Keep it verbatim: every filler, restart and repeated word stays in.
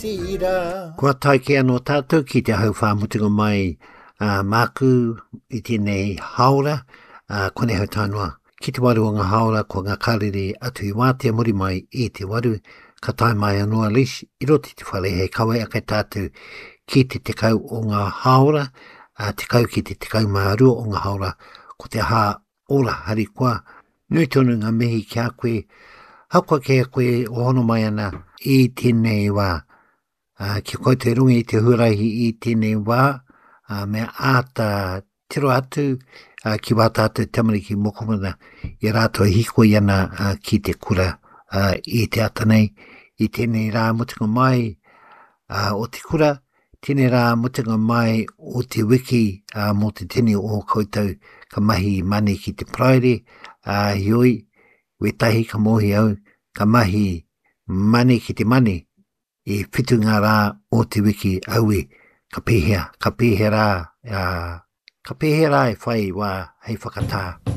Tira. Kua tae kē anō tātou ki te hauwhā mutunga mai uh, māku i tēnei hāora, uh, konei hau tae noa. Ki te waru o ngā hāora, ko ngā karere atu i wātea muri mai i te waru, ka tae mai anō a Lesh i roto i te whare hei kawe ake tātou ki te tekau o ngā hāora, uh, tekau ki te tekau mā rua o ngā hāora, ko te hā ora harikoa. Nui tonu ngā mihi ki a koe, hakoa ki a koe o hono mai ana i tēnei wā. Uh, ki koutou i runga i te huarahi i tēnei wā, uh, me āta tiro atu uh, ki wā tātou tamariki mokopuna i a rātou e hīkoi ana uh, ki te kura uh, i te ata nei, i tēnei rā mutunga mai uh, o te kura, tēnei rā mutunga mai o te wiki uh, mō te tini o koutou ka mahi mani ki te Paraire, uh, heoi, wētahi ka mōhio au, ka mahi mani ki te mani, i whitu ngā rā o te wiki aue, ka pēhea, ka pēhea rā, uh, ka pēhea rā e whai wā hei whakatā.